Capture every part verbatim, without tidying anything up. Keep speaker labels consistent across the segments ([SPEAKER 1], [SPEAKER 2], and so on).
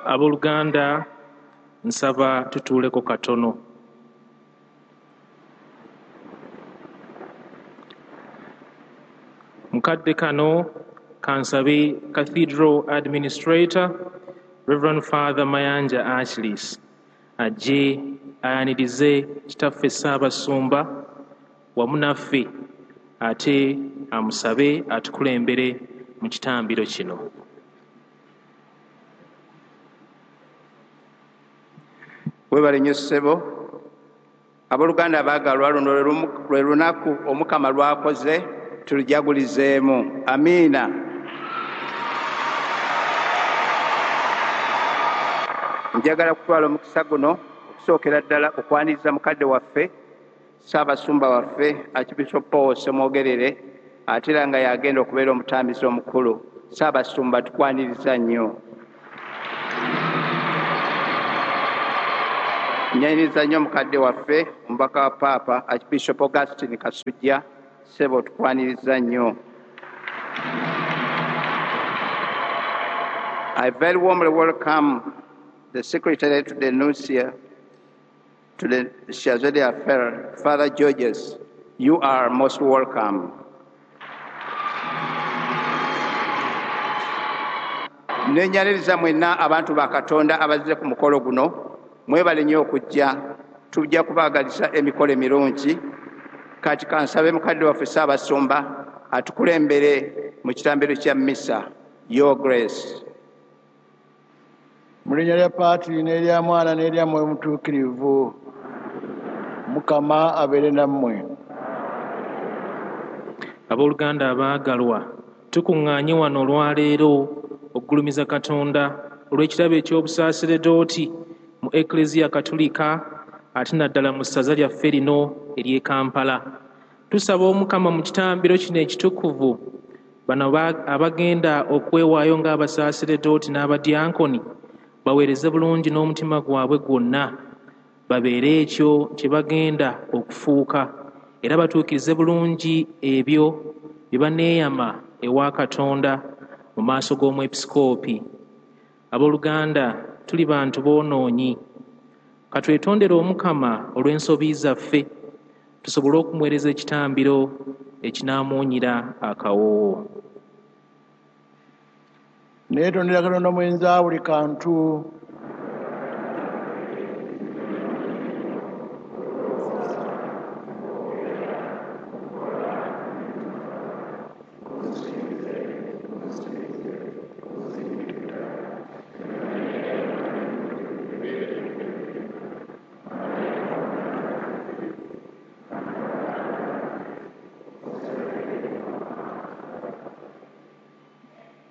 [SPEAKER 1] Abooluganda, nsaba tutuuleko katono. Mukadde kano kansabe Cathedral Administrator Reverend Father Mayanja Achilles ajje ayanirize kitaffe Ssaabasumba wamu naffe, ate amusabe atukulembere mu kitambiro kino.
[SPEAKER 2] Webale nnyo ssebo. Abooluganda abaagalwa, luno lwe lunaku Omukama lw'akoze, tulujagulizeemu. Amiina. Njagala kutwala omukisa guno okusookera ddala okwaniriza mukadde waffe Ssaabasumba waffe Archbishop Paul Ssemwogerere, ate era nga yagenda okubeera omutambizi omukulu. Ssaabasumba, tukwaniriza nnyo. Nyaniriza nnyo mukadde waffe omubaka wa Paapa Archbishop Augustine Kasujja. Ssebo, tukwaniriza nnyo. I very warmly welcome the Secretary to the Nuncio, to the Chargé d'Affaires, Father Georges. You are most welcome. Nenyaniriza mwenna abantu ba Katonda abazze ku mukolo guno. Mwebale nnyo okujja, tujja kubaagaliza emikolo emirungi. Kati kansabe mukadde waffe Ssaabasumba atukulembere mu kitambiro kya mmisa. Your Grace.
[SPEAKER 3] Mu linnya lya Paatiri n'erya Mwana n'erya Mwoyo Mutuukirivu, Mukama abeere nammwe.
[SPEAKER 1] Abooluganda abaagalwa, tukuŋŋaanye wano olwaleero okugulumiza Katonda olw'ekirabo eky'obusaaseredooti mu Ekleziya Katolika, ate naddala mu ssaza lyaffe lino ery'e Kampala. Tusaba Omukama mu kitambiro kino ekitukuvu bano abagenda okwewaayo ng'abasaaseredooti n'abadyankoni baweereze bulungi n'omutima gwabwe gwonna, babeere ekyo kye bagenda okufuuka, era batuukirize bulungi ebyo bye baneeyama ewa Katonda mu maaso g'omwepisikoopi. Abooluganda, tuli bantu boonoonyi. Katwetondere Omukama olw'ensobi zaffe, tusobole okumuweereza ekitambiro ekinaamuwunyira akawoowo.
[SPEAKER 3] Neetondera Katonda mwenza buli kantu.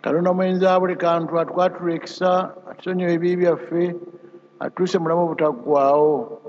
[SPEAKER 3] Katonda mwenza buli kantu atukwatula ekisa, atusonyiwe ebibi byaffe, atuuse mu bulamu obutaggwaawo.